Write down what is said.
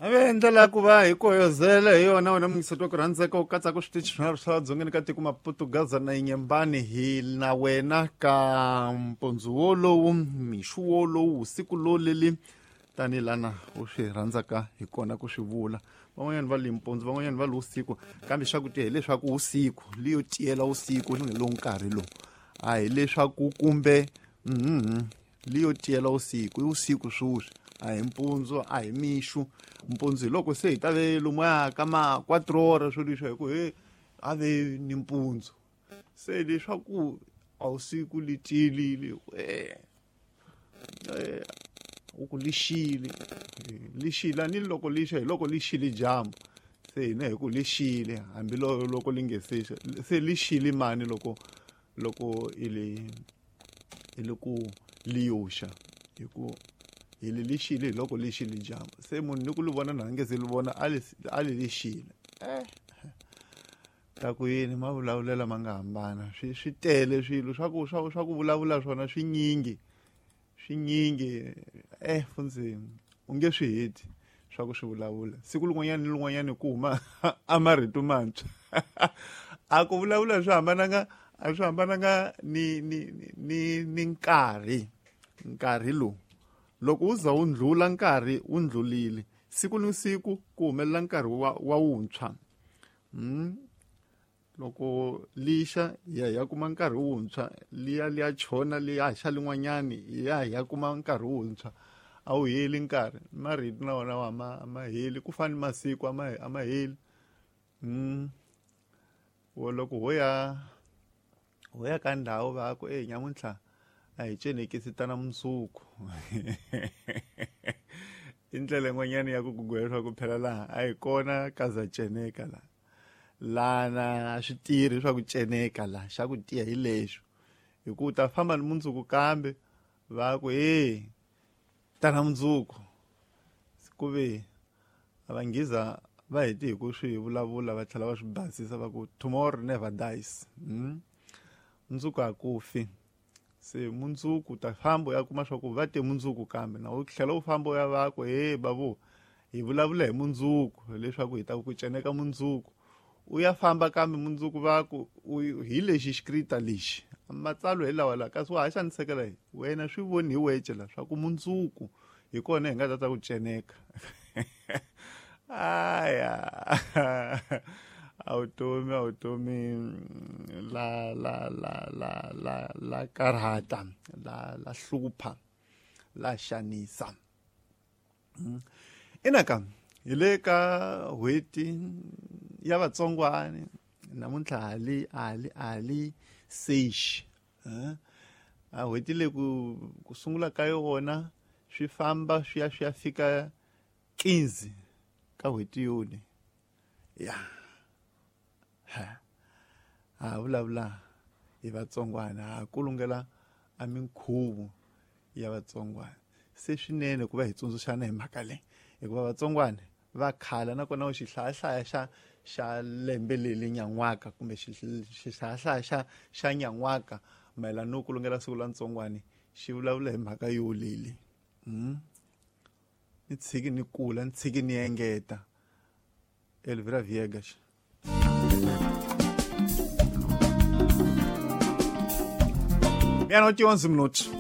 Ave ndlela ya ku va hi koyozela hi yona wena muyingiseti wa ku rhandzeka u katsaka switichi swinharhu swa dzongeni ka tiko Maputo, Gaza na Inyembani hi na wena ka mpundzu wolowu, mixu wolowu, siku loleli tanihi lana u swi rhandzaka hi kona ku swi vula. Van'wanyana va li mpundzu, van'wanyana va li usiku, kambe xa ku tiya hileswaku usiku liyo tiyela usiku lowu nkarhi lowu a hileswaku kumbe liyo tiyela usiku i usiku swoswi a hi mpundzu a hi mixu. Mpundzu hi loko se hi ta ve lomuya ka ma 4 ora swo leswi hi ku he a ve ni mpundzu, se leswaku a usiku li tiyelile u ku lixile lixile a ni loko lixa hi loko lixile dyambu, se hina hi ku lixile hambi loko li nge se xa, se lixile mani loko loko i li ku liyoxa hi ku hi li lixile hi loko lixile dyambu, se munhu ni ku li vona na nge se li vona a li lixile. Ta ku yini mavulavulela ma nga hambana, swi tele swilo swa ku swa swa ku vulavula swona swinyingi swinyingi fundzeni u nge swi heti swa ku swi vulavula siku lin'wanyana ni lin'wanyana ku huma a marito mantshwa. A ku vulavula swi hambananga a swi hambananga ni ni ni ni nkarhi nkarhi lowu loko wu za wu ndlula nkarhi wu ndlulile siku ni siku ku humelela nkarhi wa wuntshwa. Loko lixa hi ya hi ya kuma nkarhi wuntshwa, liya liya chona liya xa lin'wanyani hi ya hi ya kuma nkarhi wuntshwa, a wu heli nkarhi. Marito na wona a ma heli ku fana ni masiku a ma heli. Wo loko ho ya ka ndhawu va ku e nyamuntlha a hi cenekisi tana mundzuku. I ndlela yin'wanyana ya ku ku gwela leswaku phela laha a hi kona ka za ceneka laha, lana a swi tirhi swa ku ceneka laha, xa ku tiya hi lexo hi ku u ta famba ni mundzuku kambe va ku e tana mundzuku, ku ve a va nghiza va heti hi ku swi vulavula va tlhela va swi basisa va ku tomorrow never dies. Mundzuku a ku fi, se mundzuku ta famba u ya kuma swa ku va te mundzuku kambe na u tlhela u famba u ya va ku he babu hi vulavula hi mundzuku leswaku hi ta ku ceneka mundzuku, u ya famba kambe mundzuku va ku hi lexi xikrita lexi matsalwa hi lawa la kasi wa ha xanisekela hi wena swi voni hi wece la swa ku mundzuku hi kona hi nga ta ta ku ceneka. Aya a vutomi la la la la la la karhata la la hlupha la xanisa. Inaka hi le ka n'hweti ya vatsongwani namuntlha hali sexi a n'hweti leyi ku sungula ka yona swi famba swi ya swi ya fika 15 ka n'hweti yoni ya ha vulavula hi vatsongwana ha kulungela a minkhuvo ya vatsongwana, se swinene ku va hi tsundzuxana hi mhaka leyi hikuva vatsongwana va khala nakona u xihlayahlaya xa lembe leli nyan'waka kumbe xihlayahlaya xa nyan'waka mayelana no kulungela siku la ntsongwani xi vulavula hi mhaka yo leli. Ni tshiki ni kula ni tshiki ni engeta. Elvira Viegas. Meia-noite e 11 minutos.